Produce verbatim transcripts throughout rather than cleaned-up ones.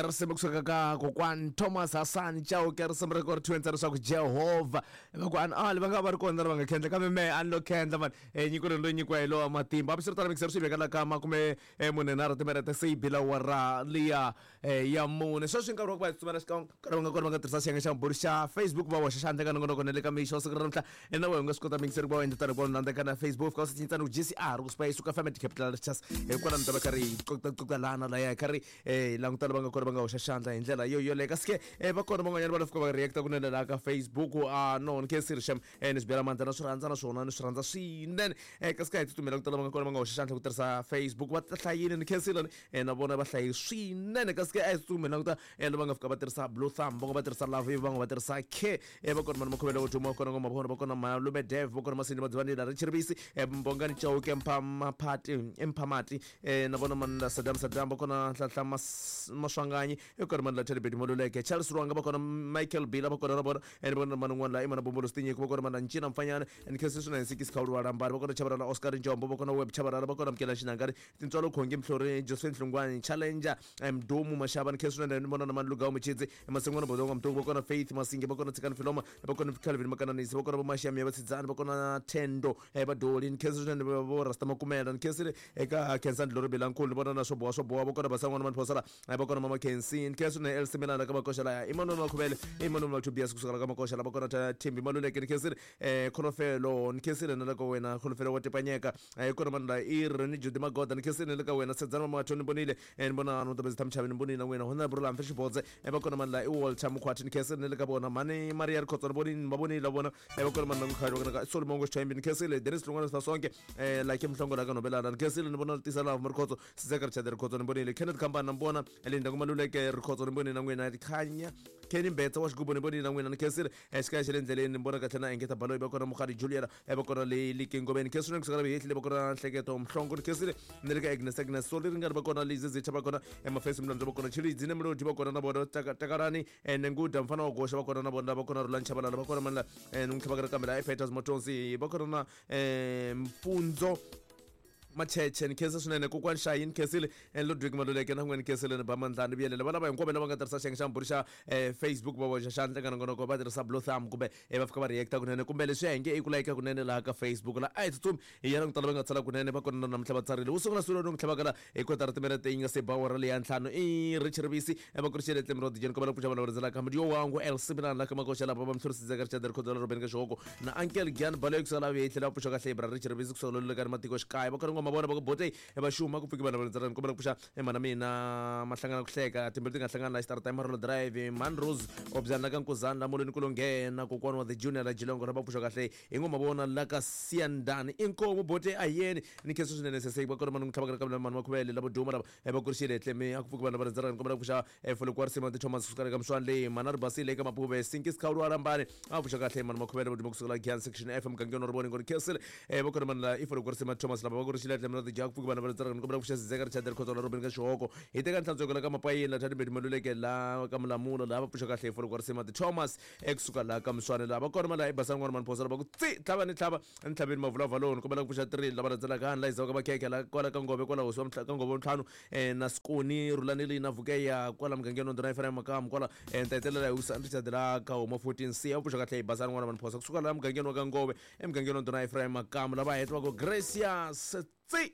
Risimu kusuka ka kokwani Thomas Hassan Chauke, risimu ri ku ri thwensa leswaku Jehovha va ku an ali va nga va ri kona va nga khendla kambe mehe a ni lo khendla mani e nyiko leyi loyi nyikiwa hi lowa matimba. Hambiswiritano mikiseri swi veka la ka makume mune nharhu timinete se yi bila wara liya ya mune. Sweswi nkarhi wa ku va hi tsutsumela xikan'we nkarhi va nga kona va nga tirhisa xiyenge xa mbhuri xa Facebook va hoxa xandla ka nongonoko na le ka mixo siku ra namuntlha na wena u nga swi kota mikiseri ku va u endla tano ku va u landzeka na Facebook fika u cincana ku G C R ku suka suka Family Capital Chas hikwalaho mi ta va karhi hi qoqaqoqalana laya hi karhi hi langutana va nga kona va nga hoxa xandla hi ndlela yo yoleyo. Kasi ke va kona van'wanyana va fika va react-a kunene laha ka Facebook. A no ni khensile xem ni swi bela mandla na swi rhandza naswona ni swi rhandza swinene. Kasi ka hi tsutsumela ku tala va nga kona va nga hoxa xandla ku tirhisa Facebook va hlayile ni khensile na vona va hlayi swinene. Kasi ke a hi tsutsumela ku ta lava nga fika va tirhisa blue thumb, van'we va tirhisa love, van'we va tirhisa k va kona mani makhomelo wo duma kona ngoma vona va kona malume Dev va kona Masindi Madzivani la Richard Mbongani Chauke Mphamapati Mphamati na vona mani la Saddam Saddam va kona Nhlanhla Maswanganyi i kona mani la Teddy Moluleke Charles Ruanga va kona Michael Bila va kona na vona ene vona mani un'wana la Imana Bombolo Stinyiko va kona mani Ncina Mfanyana ene khensile swinene Nsikisi Khawulwa Lambari va kona Chabarala Oscar Njombo va kona Web Chabarala va kona Mkela Xinangari Tintswalo Khongi Mhlori Josephine Hlungwani Challenger Mdumu Mashaba ni khensile swinene ni vona na mani Lugawu Muchidzi Masingwana Bodonga Mtuku va kona Faith Masinge va kona Tsikani Filoma va kona Calvin Makananisi va kona Vomashami va Tsidzani va kona Tendo va Doli ni khensile swinene vo Rasta Makumela ni khensile eka Khensani Dlori Bilankulu ni vona na swo boha swo boha va kona Basan'wana Mani va kona Mama Khensi ni khensile swinene Elsie Milana ka Makoxa laya Emmanuel Makhuvele Emmanuel Tobias kusuka ka Makoxa la va kona Thembi Maluleke ni khensile Kholofelo ni khensile na le ka wena Kholofelo wa Tipanyeka hi kona mani la Iri ni Judy Magoda ni khensile na le ka wena Sedzana Mamato ni vonile ni vona no Tabezi Thamchavi ni vonile na wena Honorable Lamfe Xibodze va kona mani la i Walter Mukhwati ni khensile na le ka vona mani Maria Rikhotso ni vonile va vonile la vona va kona mani la Mkhali va kona Solomon Xitshembi ni khensile Dennis Lungwana Sifasonke like Mhlongo la ka Nobelana ni khensile ni vona Tisa Love Rikhotso Sizeka Richard Rikhotso ni vonile Kenneth Kambana ni vona Linda Kumaluleke Rikhotso ni vonile na n'wina Khanya Kenny Mbetsa wa xigubu ni vonile na n'wina ni khensile xikaya xa le ndleleni ni vona kahle na Engeta Baloyi va kona Mukhadi Juliana va kona le Likingomeni khensile ni kusukela Vihehli va kona Nhleketo Mhlongo ni khensile ni le ka Agnes Agnes Soli ringani va kona Lizi Zitha va kona Emafesi Mlandzo va kona Chilidzi ne Mlodi va kona na vona Takarani ene Nguda mfana wa Gosha va kona na vona va kona Rulani Chabalala va kona mani la n'wi tlhava kambe la Peters Motonsi va kona na Mfundzo Macheche ni khensa swinene kokwani Shayi ni khensile Ludwig Maluleke na n'wina ni khensile ni ba Mandlani Vuyelele va lava hinkwavo lava nga tirhisa xiyenge xa mbhuri xa Facebook va hoxa xandla ka nongonoko va tirhisa blue thumb kumbe va fika va react-a kunene kumbe leswi hi nge i ku layika kunene laha ka Facebook la a hi tsutsumi hi ya langutala va nga tsala kunene va kona na namuntlha va tsarile wu sungula swilo ni tlhavaka la hi kotara timinete yi nga se ba wara leya ntlhanu i Richard Rivisi va ku ri xele Tlemrod Jeni kombela ku pfuxa vanhu va rindzelaka Mudiyo wangu El Sibilana la ka Makoxa lava va Mhlori Richard Rikhotso la Robin ka Xihoko na Uncle Gian Baloyi kusuka la Vihehli la pfuxa kahle Ibra Richard Rivisi kusuka loleka ni matikoxikaya va kona ngoma vona va ku bote va xuma ku pfuki vanhu va rindzelaka kombela ku pfuxa mhana mina mahlangana ku hleka timbilu ti nga hlangana la Star Time Roll Drive Man Rose obyana ka Nkuzana la Molweni ku longhena kokwana wa the Junior la Jilongo ra va pfuxa kahle hi ngoma vona la ka Siandani inkomu bote ayeni ni khensa swinene sese va kona mani tlhavaka ka mani Makhuvele la Boduma lava va kurixile tlemi a ku pfuki vanhu va rindzelaka kombela ku pfuxa Folokwa Risima ti Thomas kusuka ka Mswani leyi mana ri basile eka Mapuve Sinkis Khawulwa Rambani a pfuxa kahle mani Makhuvele Boduma kusuka la Gian Section F mugangeni wa Rivoni ngoni khensile va kona mani la i Folokwa Risima Thomas lava va kurixile tlemi na Jack pfuki vanhu va rindzelaka kombela ku pfuxa Sizeka Richard Rikhotso la Robin ka Xihoko hi teka nhlantsweko la ka Mapayini la Thandi Maluleke la ka Mulamula la va pfuxa kahle Folokwa Risima ti Thomas ekusuka la ka Mswani la va kona mani la i Basani n'wana mani Phosa la va ku tsi tlhava ni tlhava ni tlhaveni mavulavuloni kombela ku pfuxa three lava landzelaka ni la yizaka makhekhe la kwala ka Ngove kwala hosi wa ka Ngove ntlhanu na Sikoni Rulani leyi na Vukeya kwala mugangeni wa Ndhuna Ephraim Makamu kwala ni ta hetelela hi wisa Richard la ka Homa fourteen C a pfuxa kahle hi Basani n'wana mani Phosa kusuka la mugangeni wa ka Ngove emugangeni wa Ndhuna Ephraim Makamu lava heta va ku Gracious tsi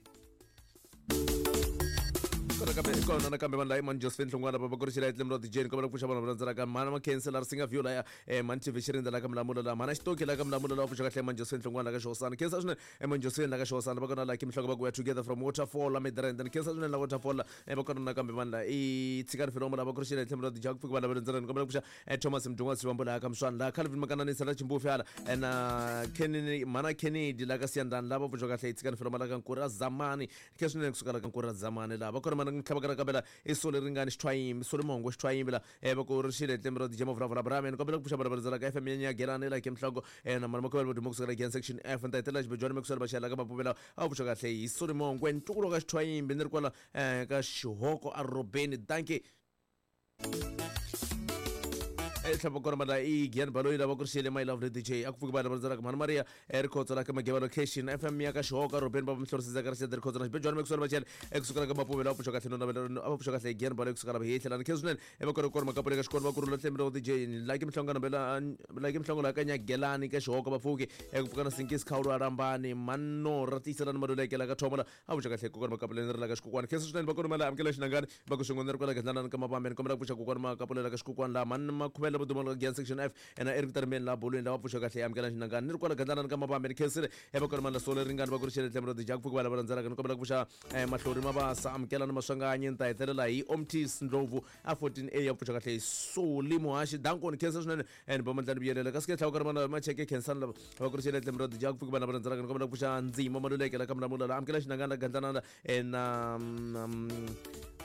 kona nakambe vanhu la Imani Josephine Hlongwana va ku ri xila Tlemrod Jeni kombela ku pfuxa vanhu va landzelaka mhana Makhensi la Risinga View laya mani T V Xirindza la ka Mulamula la mhana Xitoki la ka Mulamula la pfuxa kahle Imani Josephine Hlongwana la ka Xihosana khensa swinene Imani Josephine la ka Xihosana va kona la Kim Hloko va ku we together from Waterfall la Midrand ni khensa swinene la Waterfall la va kona nakambe vanhu la i Tshikani Filomo la va ku ri xila Tlemrod Jeni ku fika vanhu va landzelaka kombela ku pfuxa Thomas Mdungwa Sivambo la ka Mswani la Calvin Makananisa la Chimbufi hala na Kennedy mhana Kennedy la ka Siyandani la va pfuxa kahle Tshikani Filomo la ka Nkura Zamani khensa swinene kusuka la ka Nkura Zamani la va kona mani tlhavaka ka bela i Sole Ringani Xithwayimbi Sole Mongo Xithwayimbi la va ku ri xile Tlemrod Jeni Mavulavula Brahman kombela ku pfuxa vanhu va rindzelaka F M ya Gelani la Kimhloko na mani Makhuvele Boduma kusuka la Gian Section F ni ta hetelela Xibejwani Mekusela Baxela ka Mapuvela a pfuxa kahle hi Sole Mongo ntukulu ka Xithwayimbi ni ri kwala ka Xihoko a Robeni dankie. Tlhapa kona mala i Gian Baloyi lava ku rixile my lovely D J a ku pfuki vanhu va rhandzaka Mhani Maria Rikhotso la ka Mageva location F M ya ka Xihoka Robeni va mihlorisisa ka Rixede Rikhotso na Xibejwana Maxwell Machele ekusuka ka Mapuve la pfuxa kahle no navela a va pfuxa kahle Gian Baloyi kusuka la hehla la khe swinene e va kona kona makapule ka xikolo va kurhula tlembe D J like mihlongano bela like mihlongo la ka Nyagelani ka Xihoka va pfuki eku pfuka na Sinkisi Khawulu Arambani Manno Ratisa na Maluleke la ka Thomola a pfuxa kahle kokwana makapule ni ri la ka Xikukwana khe swinene va kona mala amukela xinangani va ku swin'wana ri kwala Gandlana ka Mabambeni kombela ku pfuxa kokwana makapule la ka Xikukwana la Mani Makhuvela va duma la Gian section F ena Eric Tarmeni la bolweni la va pfuxa kahle amukela xinangani ni ri kwala Gandlana ka Mabambeni khensile e va kona mala sole ringani va ku ri xele tlembe D J ku pfuka va landzelaka ni kombela ku pfuxa Mahlori Mabasa amukela na Maswanganyi ni ta hetelela hi Omtis Ndlovu a fourteen A ya pfuxa kahle Soli Muhaxi dankoni khensa swinene and va mandlani vuyelela kasi ke tlhava ka mana macheke khensani lava va ku ri xele tlembe D J ku pfuka va landzelaka ni kombela ku pfuxa Ndzima Maluleke la ka Mlamula la amukela xinangani la Gandlana na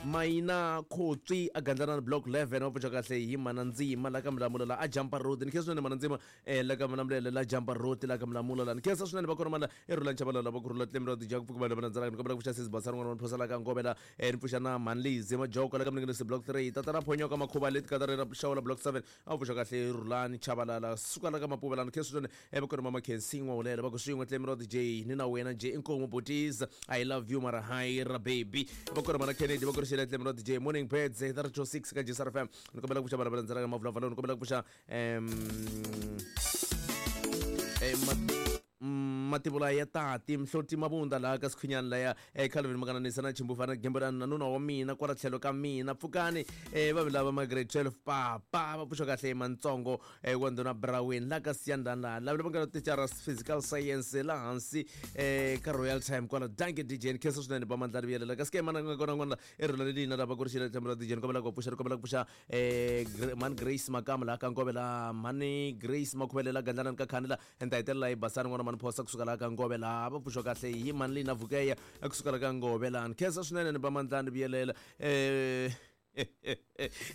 Mayina Khotswi a Gandlana block eleven va pfuxa kahle hi Mana Ndzima la ka Mlamula la a Jumper Road ni khensa swinene Mana Ndzima la ka Mlamula la Jumper Road la ka Mlamula la ni khensa swinene va kona mana eRulani Chabalala va kurhula tlembe D J ku pfuka va landzelaka ni kombela ku pfuxa Sesi Basani n'wana wa Phosa la ka Ngobela ni pfuxa na Manlizi Majoko la ka Mninginisi block three Tatana Phonyoka Makhuva leti ka ra Xawula block seven a pfuxa kahle Rulani Chabalala suka la ka Mapuvela ni khensa swinene va kona mama Khensi N'wawulela va ku swin'we tlembe D J ni na wena J inkomu botis I love you mara hi ra baby va kona mana Kennedy va ku ri xele tlembe D J morning birds thirty six ka G S R F M ni kombela ku pfuxa vana va landzelaka Mavulavula ni kombela ku pfuxa em mativula ya tati Mhloti Mabunda laha ka Sikhwinyani laya Calvin Makananisa na Chimbufana Gemberani na nuna wa mina kwala tlhelo ka mina pfukani va lava ma grade twelve papa va pfuxa kahle Mantsongo wa Ndhuna Brawin la ka Siyandana lava va nga tichara physical science la hansi ka Royal Time kwala danke D J khensa swinene va mandlari vuyelela kasi ke mana nga kona n'wana eRulani lina lava ku ri xile tlembe D J ni kombela ku pfuxa ni kombela ku pfuxa Mani Grace Makamu laha ka Ngobela Mani Grace Makhuvele la Gandlana ka Khani la ni ta hetelela hi Basani n'wana Mani Phosa kusuka la ka Ngobela va pfuxa kahle hi Mani Lina Vukeya kusuka la ka Ngobela ni khensa swinene ni va mandlani vuyelela eh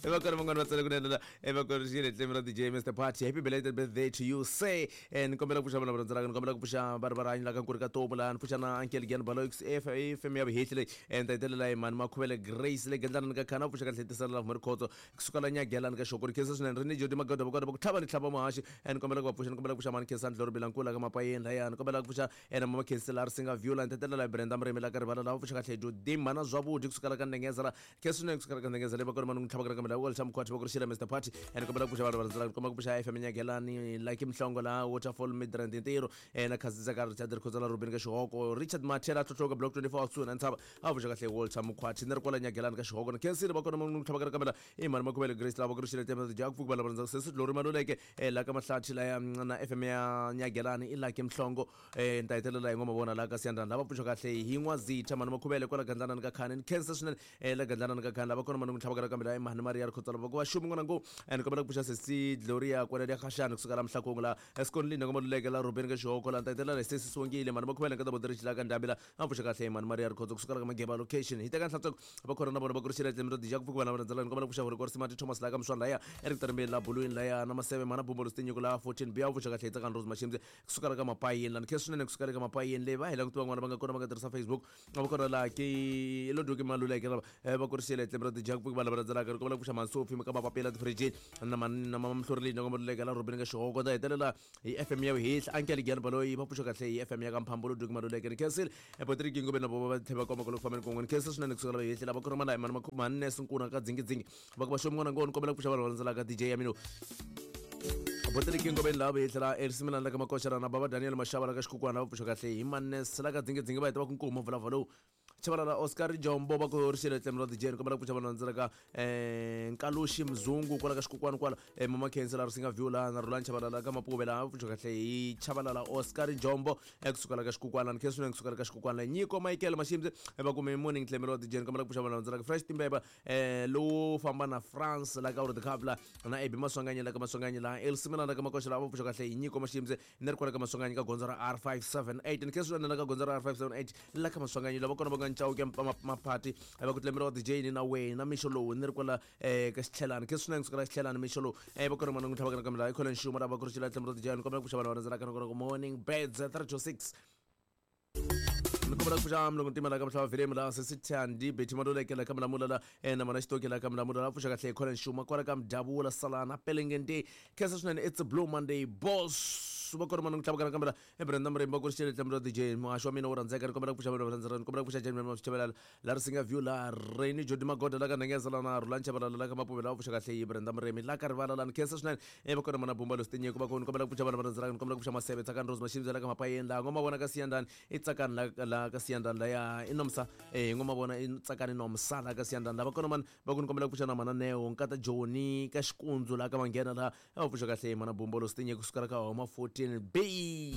va kona van'wana va tsale kunene va kona xile tlembe ra D J Mister Party happy belated birthday to you say ni kombela ku pfuxa vana va landzelaka ni kombela ku pfuxa va ri va rihanyo la ka Nkuri ka Tomu la ni pfuxa na Uncle Gian Baloyi F M ya vuhehli leyi ni ta hetelela hi Mani Makhuvele Grace le Gandlana ka Khana pfuxa kahle tisela la Rikhotso kusuka la Nyagelani ka Xokori khensa swinene ri ni Jodi Magoda va kona va ku tlhava ni tlhava Muhaxi ni kombela ku va pfuxa ni kombela ku pfuxa Mani Khensani Dloro Bilankula ka Mapayeni laya ni kombela ku pfuxa na Mama Khensi la Risinga View la ni ta hetelela hi Brenda Murimi la ka Rivala la va pfuxa kahle Jodi Mana Zwavudi kusuka la ka Ndengeza la khensa swinene kusuka la ka Ndengeza le va kona mani tlhava ka mala wala Mkhwati va ku ri xile Mister Party ni kombela ku pfuxa vanhu va landzelaka ni kombela ku pfuxa F M Nyagelani like Mhlongo la Waterfall Midrand Ntirho na Khazisa ka Richard Rikhotso la Rubin ka Xihoko Richard Mathela Tlhotlhoka block twenty-four kusuhi na Ntshava a pfuxa kahle Walter Mkhwati ni ri kwala Nyagelani ka Xihoko ni khensile va kona mani tlhava ka mala i Mani Makhuvele Grace la va ku ri xile tlembe D J ku pfuka va landzelaka Sesi Dlori Maluleke la ka Mahlathi la na F M ya Nyagelani i like Mhlongo ni ta hetelela hi ngoma vona la ka Siyandana lava pfuxa kahle hi N'wazitha Mani Makhuvele kwala Gandlana ka Khani ni khensa swinene la Gandlana ka Khani lava kona mani tlhava ka mala i Mani Maria Rikhotso la va ku va xumi n'wana ngo ni kombela ku pfuxa Sesi Gloria kwala ya Khashani kusuka la Mhlakongo la Eskonlini ka Maluleke la Rubin ka Xihoko la ni ta hetelela hi Sesi Songile Mani Makhuvele ka Tabodri la ka Ndambi la a pfuxa kahle Mani Maria Rikhotso kusuka la ka Mageba location hi teka nhlantsweko va kona na vona va ku ri xile tlembe D J ku pfuka vana va landzelaka ni kombela ku pfuxa Hore Simati Thomas la ka Mswana laya Eric Tarmbeni la Bulwini laya na Maseve Mana Bumbo Stinyiko la fourteen B a pfuxa kahle Tsakani Rose Mashimze kusuka la ka Mapayeni la ni khensa swinene kusuka la ka Mapayeni leyi va hi languti van'wana va nga kona va nga tirhisa Facebook va kona la ke Lodoki Maluleke lava va ku ri xile tlembe D J ku pfuka vana va landzelaka ni kombela ku pfuxa Mansofi ka Mapapela tifrijini na na Mama Mhlorilini ka Maluleke la Rubin ka Xihoko ta hetelela hi F M ya Vuhehli Uncle Gian Baloyi va pfuxa kahle hi F M ya ka Mphambulu Duki Maluleke ni khensile Patrick Ngobeni na vovo va tlhela va komba ku fambeni kun'we ni khensa swinene kusuka la Vuhehli lava kona mana Mani Mannes Nkuna ka Dzingidzingi va ku va xomi n'wana ngo ni kombela ku pfuxa vanhu va landzelaka D J ya mina Patrick Ngobeni lava Vuhehli la Erisimelani la ka Makoxera na Baba Daniel Mashava la ka Xikukwana va pfuxa kahle hi Mannes la ka Dzingidzingi va heta va ku nkomu vulavula lowu Chabalala Oscar Jombo va ku ri xile tlembe ra D J ni kombela ku pfuxa vanhu landzelaka Nkaluxi Mzungu kwala ka Xikukwana kwala Mama Khensi la Risinga View la na Rulani Chabalala ka Mapuve la va pfuxa kahle hi Chabalala Oscar Jombo ekusuka la ka Xikukwana ni khensa swinene kusuka la ka Xikukwana Nyiko Michael Mashimze va kume morning tlembe ra D J ni kombela ku pfuxa vanhu landzelaka Fresh Timbeba lowu famba na France la ka World Cup la na Ebi Maswanganyi la ka Maswanganyi la Elsimela la ka Makoxa la va pfuxa kahle hi Nyiko Mashimze ni ri kwala ka Maswanganyi ka gondzo ra R five seven eight ni khensa swinene la ka gondzo ra R five seven eight la ka Maswanganyi lava kona va nga Chauke Maphati va ku tlembe ra D J ni na wena mixo lowu ni ri kwala ka Xitlhelani khensa swinene kusuka la Xitlhelani mixo lowu va kona mana n'wi tlhava ka mala i Colin Xuma lava ku ri xile tlembe ra D J ni kombela ku pfuxa vanhu va landzelaka ni ku morning birds thirty six. Ni kombela ku pfuxa mulungu ntima la ka muhlava vhilemu la sesithandi Betty Maluleke la ka Mulamula la eh, na mana Xitoki la ka Mulamula la pfuxa kahle Colin Shuma kwala ka Mdavula Salana Pelengende khensa swinene. It's a blue Monday boss. Va kona mani tlhavukana kambela e Brenda Muremba ku ri xele tlamula D J muhaxi wa mina wo rhandzeka. Ni kombela ku pfuxa vanhu va rhandzaka, ni kombela ku pfuxa Jane Mashichabela la Risinga View la Reni Jodi Magoda la ka Nhengeza la na Rhulani Chabalala la ka Mapuvela va pfuxa kahle hi Brenda Muremi la ka Rivala la. Ni khensa swinene. E va kona mana Bumba Lostinyeko va kona, ni kombela ku pfuxa vanhu va rhandzaka, ni kombela ku pfuxa Maseve Tsakani Rose Mashimza la ka Mapayeni la Ngoma vona ka Siyandani i Tsakani la la ka Siyandani la ya i Nomsa eh Ngoma vona i Tsakani Nomsa la ka Siyandani la. Va kona mani va ku ni kombela ku pfuxa na mana Neo Nkata Joni ka Xikundzu la ka Manghena la va pfuxa kahle mana Bumba Lostinyeko kusukela ka Homa fourteen B.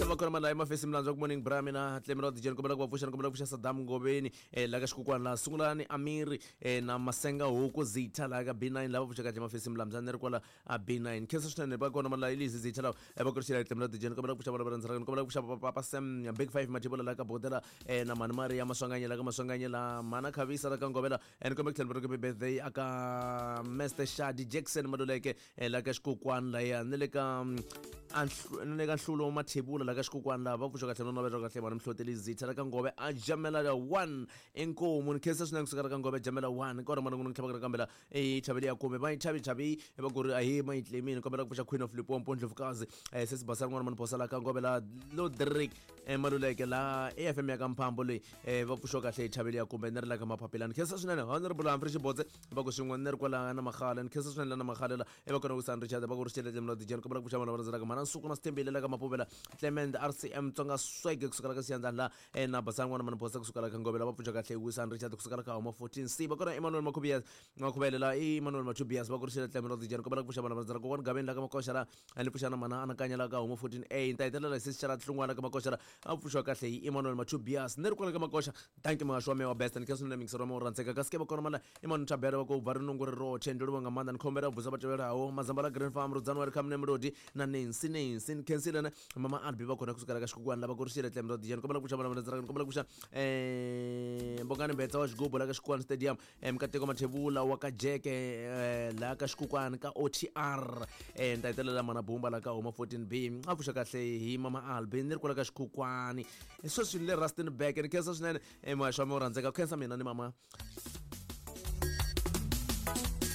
Va kona mani la emafesi milandzu ku morning bra mina Tlemelo D J ni kombela ku va pfuxa, ni kombela ku pfuxa Saddam Ngoveni eh la ka Xikukwana la Sungulani Amiri eh na Masenga Huku Zitha la ka B nine la va pfuxa kahle mafesi milandzu ni ri kwala a B nine. Khensa swinene. Va kona mani la Elise Zitha la va ku ri Tlemelo D J ni kombela ku pfuxa vana va rhandzaka, ni kombela ku pfuxa Papa Sam Big Five Mathibula la ka Bodela eh na Mani Maria Maswanganye la ka Maswanganye la Mana Khavisa la ka Ngovela eh ni kombela ku tlhela ku birthday aka Mister Shadi Jackson Maluleke eh la ka Xikukwana la ya ni le ka ni le ka Nhlulo Mathebula la ka Xikukwana la va pfuxa kahle no navela kahle vana Mhloteli Zitha la ka Ngove a jamela la one inkomu. Ni khensa swinene kusuka la ka Ngove jamela one kona mana n'wi tlhavaka kambela e chaveli ya kume va chavi chavi va ku ri a hi ma yitlemini. Kombela ku pfuxa Queen of Limpopo Ndlovukazi eh sesi Basana n'wana mani bosa la ka Ngove la Lodrick eh Maluleke la A F M ya ka Mphambo leyi eh va pfuxa kahle chaveli ya kume ni ri la ka Maphapelani. Khensa swinene Honorable Humphrey Xibotse va ku swin'we ni ri kwala na Maghala. Ni khensa swinene la na Maghala la e va kona ku San Richard va ku ri xele Tlemelo D J ni kombela ku pfuxa vana va rhandzaka mana Nsuku na Sithembile la ka Mapuvela Clement R C M Tsonga Swag kusukela ka Siyandani la eh na Basana n'wana mani bosa kusukela ka Ngove la va pfuxa kahle Wisan Richard kusukela ka Homa fourteen C. Va kona Emmanuel Makhubias Makhubele la Emmanuel Mathubias va ku ri xele Tlemelo D J ni kombela ku pfuxa vana va rhandzaka kokwana Gaveni la ka Makoxa la ni pfuxa na mana Anakanya la ka Homa fourteen A. Ni ta hetelela hi sesi Xara Hlungwana ka Makoxa la a pfuxiwa kahle hi Emmanuel Mathubias ni ri kwala ka Makoxa. Thank you muhaxi wa mehe wa best. Ni khensa swinene mixer wa mehe wo rhandzeka kasi ke va kona mala Emmanuel Thabela va ku bva rinungu ri roche ndzi livha nga maanḓa. Ni khombela vusa va tevhelaho Mazamba la Green Farm Rudzani wa ri Khamune Melodi na Nancy Nancy. Ni khensile na Mama Albi va kona kusukela ka Xikukwana lava ku ri xile Tlemelo D J ni kombela ku pfuxa vana va rhandzaka, ni kombela ku pfuxa eh Mbongani Mbetsa wa Xigubu la ka Xikukwana Stadium eh Mkateko Mathebula wa ka Jeke eh la ka Xikukwana ka O T R eh ni ta hetelela mana Bumba la ka Homa fourteen B a pfuxa kahle hi Mama Albi ni ri kwala ka Xikukwana sweswi ni le Rustenburg. Ni khensa swinene eh muhaxi wa mina wo rhandzeka. Khensa mina ni mama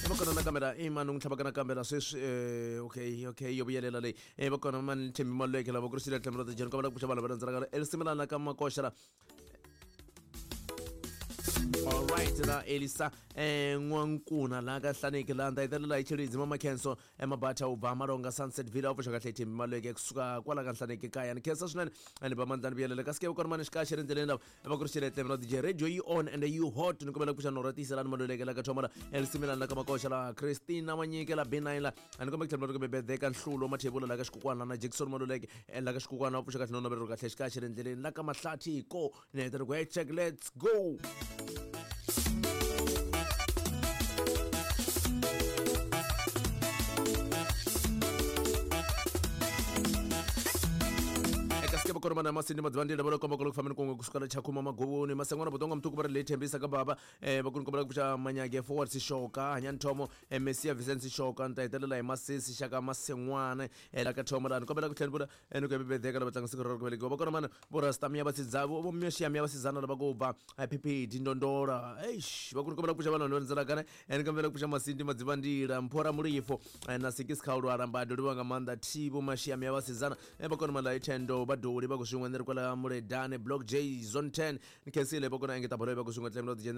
va kona nakambe i mani n'wi tlhavaka nakambe la sweswi eh okay okay yo vuyelela leyi eh va kona mani Thembi Maluleke lava ku ri xile Tlemelo D J ni kombela ku pfuxa vanhu va rhandzaka Elsimilana ka Makoxa la. All right la Elisa eh N'wankuna la ka Hlaneki la nda hetelela hi Chilidzi Mama Khenso eMabatha u bva Malonga Sunset Villa u pfuxa kahle Thembi Maluleke kusuka kwala ka Hlaneki kaya. Ni khensa swinene ni ba mandlani vuyelela kasi ke kona mani xikaxe ri ndleleni lava va ku ri xile Tlemelo D J radio yi on and you hot. Ni kombela ku pfuxa Nora Tiyiselani Maluleke la ka Thomala Elsimilana la ka Makoxa la Christina Manyike la B nine la ni kombela ku tlhela ku birthday ka Nhlulo Mathebula la ka Xikukwana na Jackson Maluleke la ka Xikukwana va pfuxa kahle no navela kahle xikaxe ri ndleleni la ka Mahlathi ko ni hetelela ku hey check let's go. Kona mana Masindi Madzivandila va lo komba ku fambeni kun'we kusukela Chakhuma Maguvuni Masengwana Botonga Mtuku va ri leyi thembisa ka baba eh va ku ni kombela ku pfuxa Manyage Forward Sishoka Hanyani Thomo eh Messia Vincent Sishoka ni ta hetelela hi Masesi Xaka Masengwana eh la ka Thomo la ni kombela ku tlhela ni vula eh ni ku happy birthday ka lava tlanga siku ra ku velekiwa. Va kona mana vo Rastamia Vasidzavo vo Myoxiyamia Vasizana lava ku ba P P D Ndondola eish va ku ni kombela ku pfuxa vanhu va rhandzelaka eh ni kombela ku pfuxa Masindi Madzivandila Mphora Mulifo na Sikisi Khawulwala Mbado livha nga maanḓa Thibo Mashiamia Vasizana eh va kona mana la Thendo Baduli va ku swin'we ni ri kwala Muledane Block J Zone ten ni khensile va kona engeta bolo va ku swin'we Tlemelo D J.